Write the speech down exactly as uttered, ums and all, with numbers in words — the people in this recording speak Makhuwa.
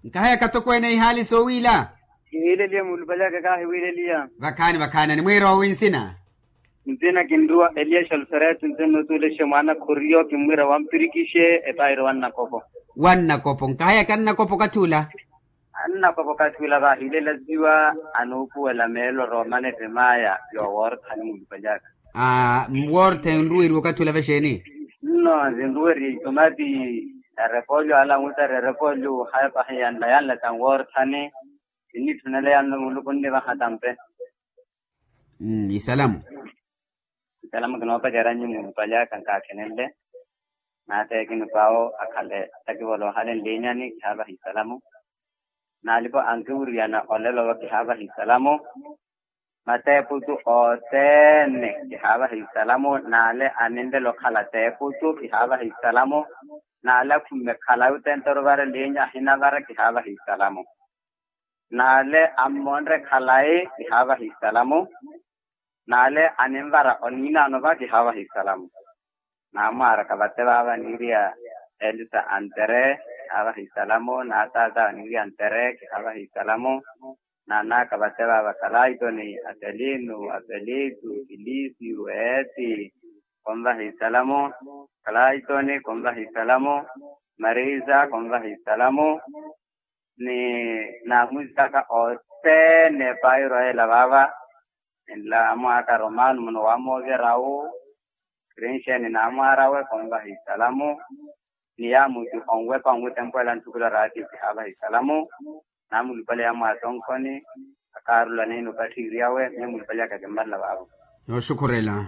Nkahaya katokweene ihaali soowiila. Kihiileliya muulupalyaka kaahiwiileliya. Vakhaani vakhaani animwiira owi nsina? Nsina kinruwa eliya xalfereto nse nnutuulexe mwaana khoriyo kimmwiira wampirikixe epairo wannakopo. Wannakopo nkahaya kannakopo okathi ula. Annakopo okathi ula vaahiilelasiwa anuupuwela meelo roomana ettemaya yooworthani muulupalyaka. Aa mwortha enruweriwa okathi ula vexeeni? Nno zinruweriye itomati. Erepolyo ala anwitara erepolyo hapahi yanla yanla tanworthani. Sinnitthunelayano muluku nnivaha tampe. Isalamu. Isalamu kinoopaceryanyu muulupalyaaka nkaakhenenle. Naateekini paawo akhale takivola ohalenlinyani kihaavaha isalamu. Naalipo ankiwuriyana olelo wa kihaavaha isalamu. Mateeputu othene kihaavaha isalamu naale aninlelo okhala teeputu kihaavaha isalamu. Naale akhumme khalayi othene toruvara elinya ahinavara kihaavaha isalamu. Naale ammonre khalayi kihaavaha isalamu. Naale aninvara oniinaano va kihaavaha isalamu. Naamwaaraka vate vaava niiriya elisa antere kihaavaha isalamu naataata niiriya antere kihaavaha isalamu. Naanaaka vate vaava kalaitoni aselinu aselitu kilisiyu eeti. Konvaha isalamu. Kalaitoni konvaha isalamu. Marisa konvaha isalamu. Ni naamwizaka othene pairo ela vaava. Enla amwaaka romano muno wamoovya rawu. Krinxeni naamwaarawe konvaha isalamu. Ni yaamuti onwepa onwitempwela ntthukula raati kihaavaha isalamu. Naamulupale yamwatonkhoni. Akaarula niino okatthiiriyawe miyo mulupale yaka kimmarela vaavo. Nooxukhurela.